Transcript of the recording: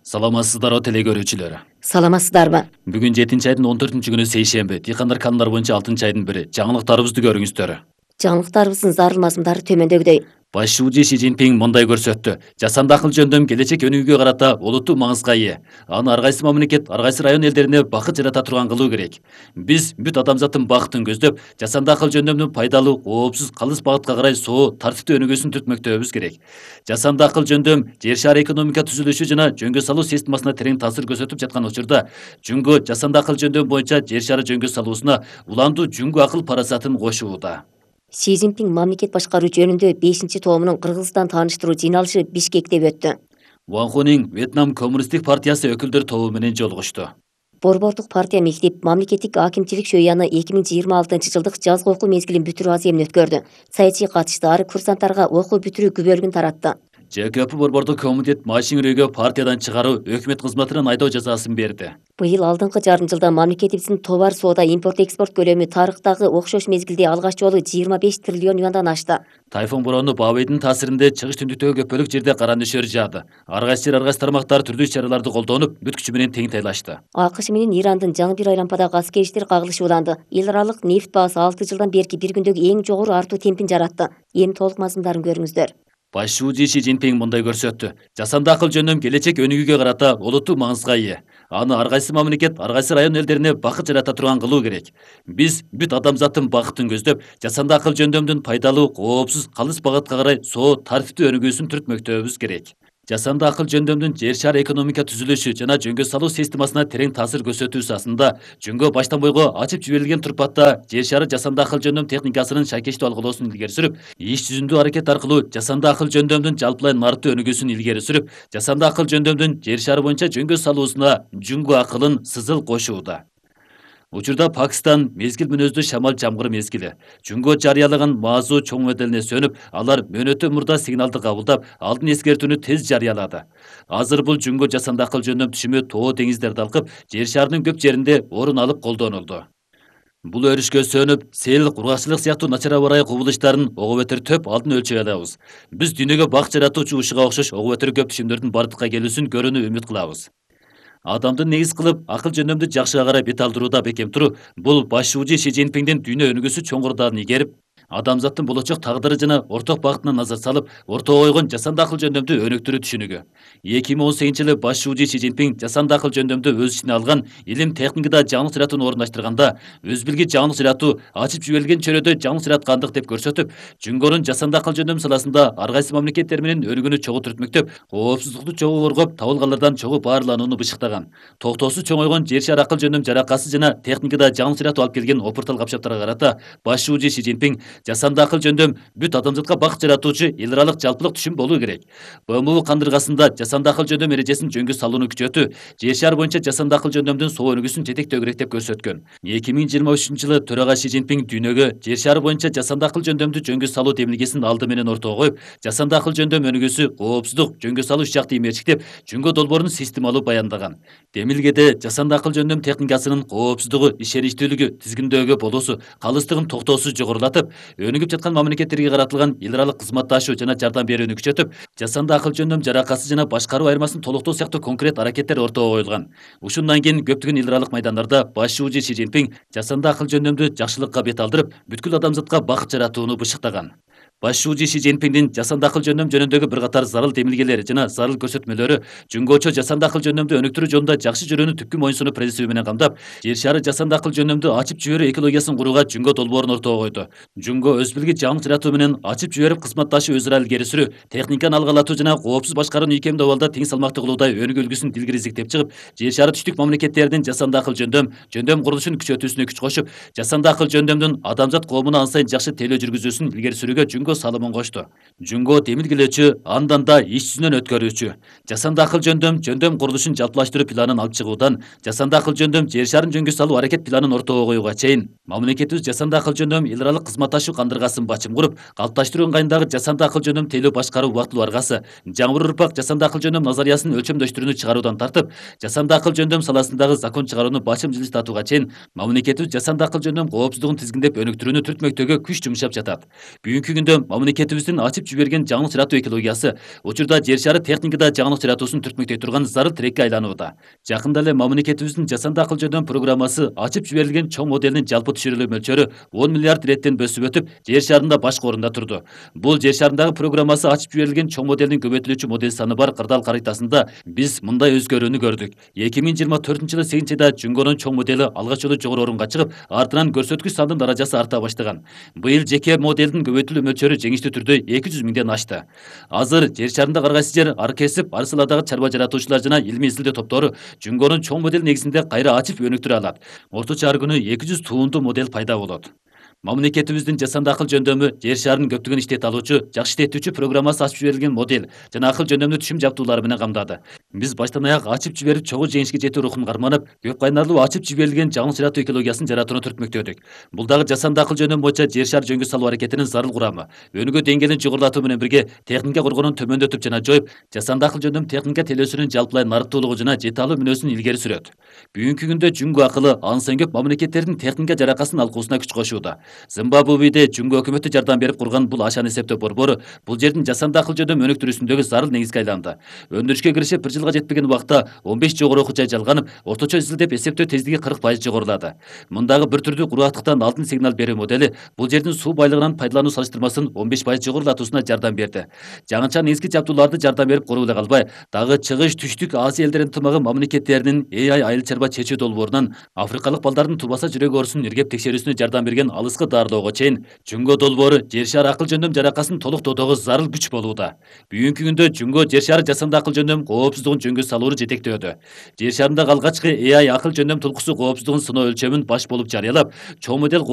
Саламатсыздарбы теле көрүүчүлөр. Саламатсыздарбы? Бүгүн 7-айдын 14-күнү сейшемби. Дыйкандар канундар боюнча 6-айдын бири. Жаңылыктарыбызды көрүңүздөр. Жаңылыктарыбыздын зарыл мазмундары төмөндөгүдөй. Баш шууучу Си Цзиньпин мындай көрсөттү. Жасанды акыл жөндөм келечек өнүгүүгө карата олуттуу маңызга ээ. Аны ар кайсы мамлекет, ар кайсы район элдерине бакыт жарата турган кылуу керек. Биз бүт адамзаттын бакытын көздөп, жасанды акыл жөндөмдүн пайдалуу, коопсуз, калыс багытка карай соо, тартиптүү өнүгүүсүн түртмөктөбүз керек. Жасанды акыл жөндөм жер шары экономика түзүлүшү жана жөнгө салуу системасына терең таасир көрсөтүп жаткан учурда, Жүнгө жасанды акыл жөндөм боюнча жер шары жөнгө салуусуна уландуу Жүнгө акыл парасатын кошууда. Си Цзиньпин мамлекет башкаруу жөнүндө 5-тоомунун Кыргызстан тааныштыруу жыйналышы Бишкекте өттү. Ван Хунин Вьетнам коммунисттик партиясы өкүлдөр тобу менен жолугушту. Борбордук партия мектеп мамлекеттик акимчилик шөйяны 2026-жылдык жазгы окуу мезгилин бүтүрүү аземин өткөрдү. Саясий катышчылар курсанттарга окуу бүтүрүү күбөлүгүн таратты. ЖКП борбордук комитет машин үрөөгө партиядан чыгаруу, өкмөт кызматынан айдоо жазасын берди. Быйыл алдыңкы жарым жылда мамлекетибиздин товар соода импорт-экспорт көлөмү тарыхтагы окшош мезгилде алгач жолу 25 триллион юандан ашты. Тайфун бороону Бабайдын таасиринде чыгыш түндүктөгү көпөлүк жерде кара нөшөр жаады. Ар кайсы жер, ар кайсы тармактар түрдүү чараларды колдонуп, бүт күчү менен тең тайлашты. АКШ менен Ирандын жаңы бир айлампадагы аскери иштер кагылышууланды. Эл аралык нефть баасы 6 жылдан берки бир күндөгү эң жогору артуу темпин жаратты. Эми толук мазмундарын көрүңүздөр. Баш шууучу Си Цзиньпин мындай көрсөттү. Жасанды акыл жөндөм келечек өнүгүүгө карата олуттуу маңызга ээ. Аны ар кайсы мамлекет, ар кайсы район элдерине бакыт жарата турган кылуу керек. Биз бүт адамзаттын бакытын көздөп, жасанды акыл жөндөмдүн пайдалуу, коопсуз, калыс багытка карай соо, тартиптүү өнүгүүсүн түртмөктөбүз керек. Жасанды акыл жөндөмдүн жер шары экономика түзүлүшү жана жөнгө салуу системасына терең таасир көрсөтүүсү асында Жүнгө баштан бойго ачып жиберилген турпатта жер шары жасанды акыл жөндөм техникасынын шайкештүү алгылоосун илгери сүрүп, иш жүзүндүү аракет аркылуу жасанды акыл жөндөмдүн жалпылай нарықтуу өнүгүүсүн илгери сүрүп, жасанды акыл жөндөмдүн жер шары боюнча жөнгө салуусуна Жүнгө акылын сызыл кошууда. Учурда Пакистан мезгил мүнөздүү шамал жамгыр мезгили. Жүнгө жарыялаган маазуу чоң моделине сөнүп, алар мөөнөтө мурда сигналды кабылдап, алдын эскертүүнү тез жарыялады. Азыр бул Жүнгө жасанды акыл жөндөм түшүмү тоо деңиздерди алкып, жер шарынын көп жеринде орун алып колдонулду. Бул өрүшкө сөнүп, сел, кургакчылык сыяктуу начар аба ырайы кубулуштарын ого бетер төп алдын өлчөй алабыз. Биз дүйнөгө бак жаратуучу ушуга окшош ого бетер көп түшүмдөрдүн бардыкка келүүсүн көрүүнү үмүт кылабыз. Адамды негиз кылып, акыл жөндөмдү жакшыга карай бет алдырууда бекем туруу, бул баш шууучу Си Цзиньпиндин дүйнө өнүгүүсү чоңурдаан игерип, адамзаттын болочок тагдыры жана орток багытына назар салып, ортого койгон жасанды акыл жөндөмдү өнүктүрүү түшүнүгү. 2018-жылы баш шууучу Си Цзиньпин жасанды акыл жөндөмдү өз ичине алган илим техникада жаңылык жаратууну орундаштырганда, өз билги жаңылык жаратуу ачып жиберилген чөйрөдө жаңылык жараткандык деп көрсөтүп, Жүнгөнүн жасанды акыл жөндөм саласында ар кайсы мамлекеттер менен өнүгүүнү чогуу түртмөктөп, коопсуздукту чогуу коргоп, табылгандардан чогуу баарланууну бышыктаган. Токтоосуз чоңойгон жер шары акыл жөндөм жаракасы жана техникада жаңылык жаратуу алып келген опуртал капчактарга карата баш шууучу Си Цзиньпин жасанды акыл жөндөм бүт адамзатка бакыт жаратуучу эл аралык жалпылык түшүм болуу керек. БМУ кандыргасында жасанды акыл жөндөм эрежесин жөнгө салууну күчөтүү, жер шары боюнча жасанды акыл жөндөмдүн соо өнүгүүсүн жетектөө керек деп көрсөткөн. 2023-жылы төрага Си Цзиньпин дүйнөгө жер шары боюнча жасанды акыл жөндөмдү жөнгө салуу демилгесин алды менен ортого коюп, жасанды акыл жөндөм өнүгүүсү коопсуздук, жөнгө салуу үч жакты эмерчиктеп, Жүнгө долбоорун системалуу баяндаган. Демилгеде жасанды акыл жөндөм техникасынын коопсуздугу, ишеничтүүлүгү, тизгиндөөгө болуусу, калыстыгын токтоосуз жогорулатып, өнүгүп жаткан мамлекеттерге каратылган эл аралык кызматташуу жана жардам берүүнү күчөтүп, жасанды акыл жөндөм жаракасы жана башкаруу айырмасын толуктоо сыяктуу конкрет аракеттер ортого коюлган. Ушундан кийин көптөгөн эл аралык майдандарда баш шууучу Си Цзиньпин жасанды акыл жөндөмдү жакшылыкка бет алдырып, бүткүл адамзатка бакыт жаратууну бышыктаган. Баш шууучу Си Цзиньпиндин жасанды акыл жөндөм жөнүндөгү бир катар зарыл демилгелери жана зарыл көрсөтмөлөрү Жүнгөчө жасанды акыл жөндөмдү өнүктүрүү жолунда жакшы жүрүүнү түпкү моюнсунуп принциби менен камдап, жер шары жасанды акыл жөндөмдү ачып жиберүү экологиясын курууга Жүнгө долбоорун ортого койду. Жүнгө өз билги жаңылык жаратуу менен ачып жиберип кызматташуу өзара илгери сүрүү, техниканы алгылатуу жана коопсуз башкарууну ийкемдүү абалда тең салмактуу кылуудай өнүгүү үлгүсүн илгери изиктеп чыгып, жер шары түштүк мамлекеттеринин жасанды акыл жөндөм курулушун күчөтүүсүнө күч кошуп, жасанды акыл жөндөмдүн адамзат коомуна ан сайын жакшы тейлөө жүргүзүүсүн илгери сүрүүгө Жүнгө салымын кошту. Жүнгө демилгелөөчү, андан да иш жүзүнөн өткөрүүчү. Жасанды акыл жөндөм курулушун жалпылаштыруу планын алып чыгуудан, жасанды акыл жөндөм жер шарын жөнгө салуу аракет планын ортого коюуга чейин, мамлекетибиз жасанды акыл жөндөм эл аралык кызматташуу кандыргасын бачым куруп, калыпташтыруу ыңгайындагы жасанды акыл жөндөм тейлөө башкаруу убактылуу аргасы, жаңы бир урпак жасанды акыл жөндөм назариясынын өлчөмдөштүрүүнү чыгаруудан тартып, жасанды акыл жөндөм саласындагы закон чыгарууну бачым жылыстатууга чейин мамлекетибиз жасанды акыл жөндөм коопсуздугун тизгиндеп өнүктүрүүнү түртмөктөөгө күч жумшап жатат. Бүгүнкү күндө жөнүндө мамлекетибиздин ачып жиберген жаңылык жаратуу экологиясы учурда жер шары техникада жаңылык жаратуусун түртмөктөй турган зарыл тирекке айланууда. Жакында эле мамлекетибиздин жасанды акыл жөндөм программасы ачып жиберилген чоң моделинин жалпы түшүрүлүү мөлчөрү 10 миллиард реттен өсүп өтүп, жер шарында башкы орунда турду. Бул жер шарындагы программасы ачып жиберилген чоң моделинин көбөйтүлүүчү модель саны бар кырдаал каритасында биз мындай өзгөрүүнү көрдүк. 2024-жылы 8-айда Жүнгөнүн чоң модели алгач жолу жогору орунга чыгып, артынан көрсөткүч сандын даражасы арта баштаган. Быйыл жеке моделдин көбөйтүлүү мөлчөрү жеңиштүү түрдө 200 миңден ашты. Азыр жер шарында ар кайсы жер, ар кесип, ар саладагы чарба жаратуучулар жана илмий изилдөө топтору Жүнгөнүн чоң модель негизинде кайра ачып өнүктүрө алат. Орточо ар күнү 200 туунду модель пайда болот. Мамлекетибиздин жасанды акыл жөндөмү жер шарынын көптөгөн иштете алуучу, жакшы иштетүүчү программасы ачып жиберилген модель жана акыл жөндөмдүү түшүм жабдуулары менен камдады. Биз баштан аяк ачып жиберип чогуу жеңишке жетүү рухун карманып, көп кайнарлуу ачып жиберилген жаңылык жаратуу экологиясын жаратууну түртмөктөдүк. Бул дагы жасанды акыл жөндөм боюнча жер шар жөнгө салуу аракетинин зарыл курамы. Өнүгүү деңгээлин жогорулатуу менен бирге техника коргоонун төмөндөтүп жана жоюп, жасанды акыл жөндөм техника телөөсүнүн жалпылай нарыктуулугу жана жете алуу мүнөзүн илгери сүрөт. Бүгүнкү күндө Жүнгө акылы ансын көп мамлекеттердин техника жаракасын алкуусуна күч кошууда. Зимбабведе Жүнгө өкмөтү жардам берип курган бул ашан эсептөө борбору бул жердин жасанды акыл жөндөм өнүктүрүүсүндөгү зарыл негизге айланды. Өндүрүшкө киришип 1 жылга жетпеген убакта 15 жогору окуу жай жалганып, орточо изилдеп эсептөө тездиги 40% жогорулады. Мындагы бир түрдүү кургактыктан алдын сигнал берүү модели бул жердин суу байлыгынан пайдалануу салыштырмасын 15% жогорулатуусуна жардам берди. Жаңыча негизги жабдууларды жардам берип коруп эле калбай, дагы чыгыш түштүк Азия элдеринин ынтымагы мамлекеттеринин AI айыл чарба чечүү долбоорунан Африкалык балдардын тубаса жүрөк оорусун иргеп текшерүүсүнө жардам берген алыскы дарылоого чейин Жүнгө долбоору жер шары акыл жөндөм жаракасын толуктоодогу зарыл күч болууда. Бүгүнкү күндө Жүнгө жер шары жасанды акыл жөндөм коопсуздугун жөнгө салууну жетектөөдө. Жер шарындагы алгачкы AI акыл жөндөм тулкусу коопсуздугун сыноо өлчөмүн баш болуп жарыялап, чоң модель